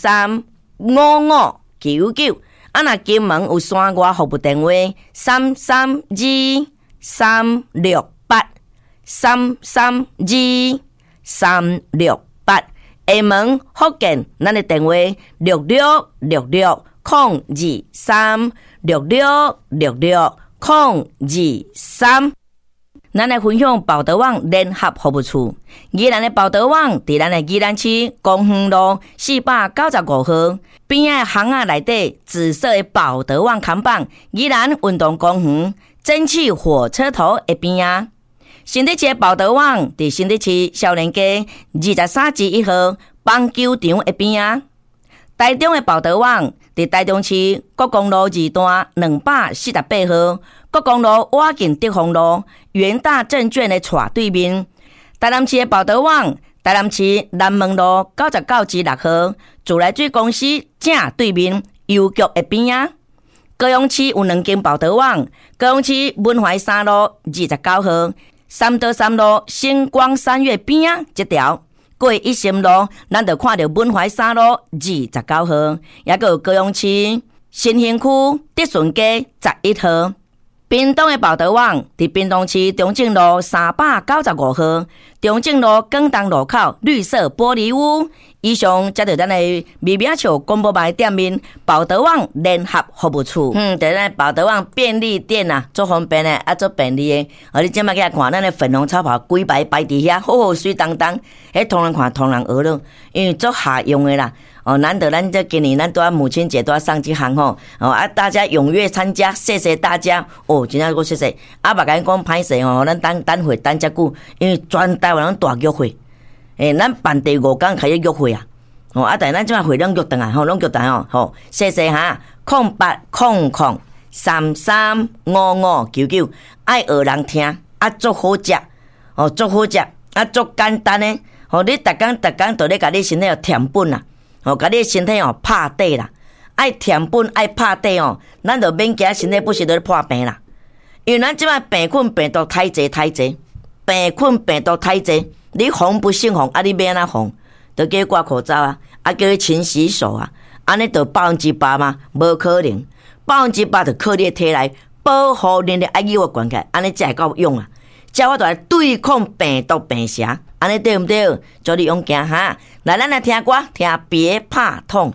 三五五九九。啊，若金門有山外服務電話332368，332368。廈門福建，咱的電話6666023，6666023。咱來分享寶德網聯合服務處，宜蘭的寶德網佇咱的宜蘭市公園路495號邊仔巷仔內底紫色的寶德網看板，宜蘭運動公園蒸汽火車頭的邊仔。新竹市的寶德網佇新竹市少年街23之1號棒球場的邊仔。台中的寶德網佇台中市國光路二段248號，國光路倚近德豐路元大證券的斜對面。台南市的寶德網，台南市南門路99之6號，自來水公司正對面郵局的邊仔。高雄市有兩間寶德網，高雄市文懷三路29號，三多三路星光三月邊仔這條。過一心路，咱就看著文懷三路29號，抑閣有高雄市新興區德順街11號。屏東的寶德網佇屏東市中正路395號，中正路廣東路口綠色玻璃屋。以上才著咱的微微仔笑廣播網店面寶德網聯合服務處。佇咱寶德網便利店啊，足方便的，啊，足便利的。哦，你這擺起來看，咱的粉紅超跑規排擺佇遐，好好媠當當。彼予人看，予人學囉，因為足合用的啦。哦，難得咱這今年咱拄仔母親節拄仔送這項吼，哦啊，大家踴躍參加，謝謝大家。哦，真正閣謝謝。啊，嘛共你講歹勢吼，咱等等會等遮久，因為全台灣攏大約會。咱辦第五工開始約會啊。哦，啊，但是咱這擺會攏約轉來吼，攏約轉來吼，好，謝謝哈。0800335599，愛學人聽，啊，足好食，哦，足好食，啊，足簡單的。吼，你逐工逐工都咧共你身體添本啦，吼，共你身體吼拍底啦，愛添本愛拍底哦，咱就免驚身體不時咧破病啦。因為咱這擺病菌病毒太濟太濟，病菌病毒太濟，你防不勝防，啊，你欲按怎防？就叫伊掛口罩啊，啊，叫伊勤洗手啊，按呢就100%嗎？無可能，100%就靠你的體內保護能力愛有懸起來，按呢才會夠勇啊！才有法度來對抗病毒病邪，按呢對毋對？祝你勇健哈！來，咱來聽歌，聽別怕痛。